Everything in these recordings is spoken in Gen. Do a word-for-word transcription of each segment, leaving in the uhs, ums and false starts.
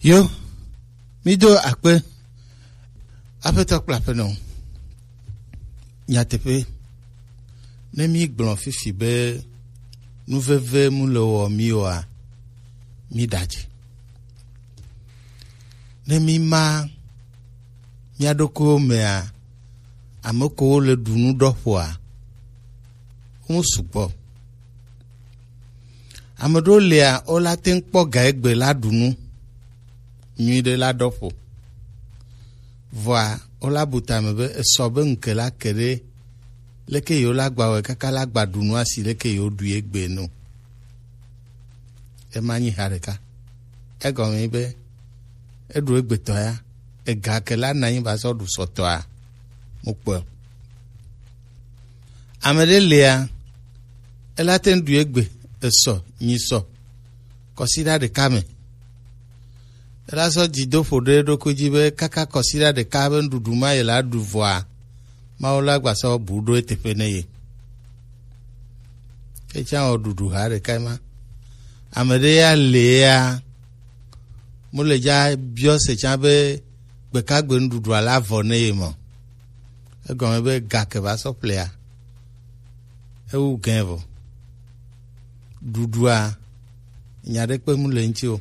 Yo, mi do akpe. Aƒetɔ kple aƒenɔ, nyateƒe, ne mi gblɔ fifi be nuveve mu le wɔ mi oa, mi ɖadzi. Ne mi ma mia ɖokuiwo mea, ame kewo le ɖu nu ɖɔ ƒoa, wo sugbɔ. Ame ɖewo lia, wola te ŋu kpɔ ga egbe la ɖu nu nyuiɖe la ɖɔ ƒo. Vɔa, wola bu tame be esɔ be ŋke la ke ɖe leke yewo la gba wɛ kaka la gba ɖu nua si leke yewo ɖui egbe no. Ema nyi ha ɖeka. Egɔme nyi be eɖu egbetɔ ya, ega ke la na nyi va sɔ ɖu sɔtɔa, mo kpɔe o. Ame ɖe lia, ela te ŋu ɖu egbe, esɔ, nyi sɔ, kɔsiɖa ɖeka me. Ela sɔ dzidoƒo ɖe eɖokui dzi be kaka kɔsiɖa ɖeka be nuɖuɖu ma ye la ɖu vɔa, Mawu la gba sɔ bu ɖo eteƒe ne ye. Etsã wɔ ɖuɖu ha ɖeka ma. Ame ɖe ya le ya, mo le dza biɔ se tsã be gbekagbe nuɖuɖua la vɔ ne ye mɔ. Egɔme be ga ke va sɔ ƒlea, ewu gɛ vɔ. Ɖuɖua, nya ɖe kpe mu le ŋuti o.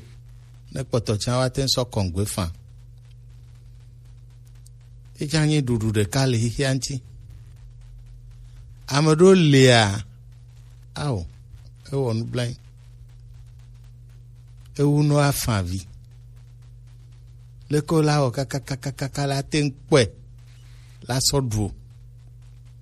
Ne kpɔtɔ tsã wa te ŋu sɔ kɔngbe fã. Etsã nyi ɖuɖu ɖeka le xixia ŋuti. Ame ɖewo lia, ao, ewɔ nublanui. Ewu nɔ afã vi. Leke wo la wɔ kakakakaka la te ŋu kpɔe la sɔ ɖu o.